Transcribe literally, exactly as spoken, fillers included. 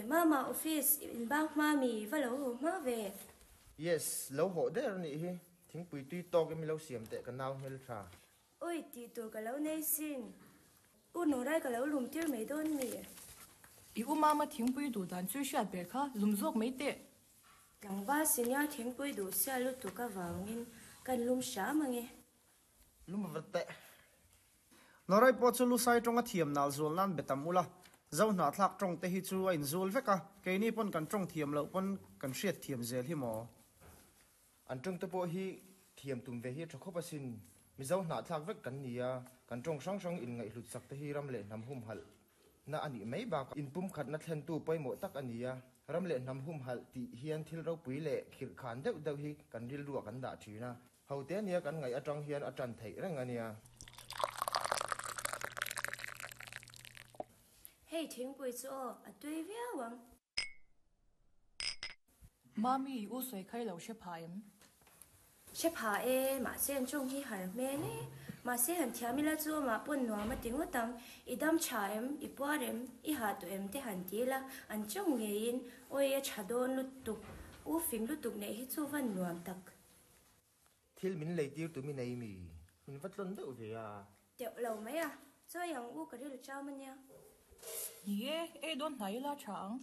Mama office in bang hma mi va lo haw hma ve. Yes, lo haw der anih hi. Thingpui tui tawk in mi lo siam teh ka nau hmeltha. Oi, tih tur ka lo nei sin. U Norai ka lo lum tir mai dawn mi? I u Mama thingpui duh dan chu i hriat ber kha, lum zawk mai teh. Tlangval senior thingpui duh sia lutuk avangin kan lum hram ange. Lum vat teh. Norai pawh chu Lusai tawnga thiam nal zual nan be tam ula, Zohnahthlak tawng te hi chu a inzul vek a, keini pawn kan tawng thiam loh pawn kan hriat thiam zel hi maw? An tawng te pawh hi thiam tum ve hi a tha khawp asin. Mizo hnahthlak vek kan ni a, kan tawng hrang hrang inngaihhlut sak te hi ram leh hnam humhalh na a nih mai bakah inpumkhatna thlentu pawimawh tak a ni a. Ram leh hnam humhalh tih hian thil ropui leh khirhkhan deuh deuh hi kan rilruah kan dah thin a. Ho te ania kan ngaih atang hian a tan theih reng a nia. Hei thingpui chu aw, a tui viau ang. Mami, i u sawi kha i lo hre pha em? Hre pha e, mahse an tawng hi har hmel e. Mahse han thiam ila chu amah pawn nuam a ti ngawt ang. I dam tha em, i puar em, i hah tawh em te han ti ila, an tawng ngeiin awi a tha dawn lutuk, u fing lutuk neih hi chu van nuam tak. Thil min lei tir tu mi nei mi? Min va tlawn deuh ve a. Teuh lo mai a, chawi ang u ka rilru chau a nia. Ni e, ei dawn hnai ila tha ang.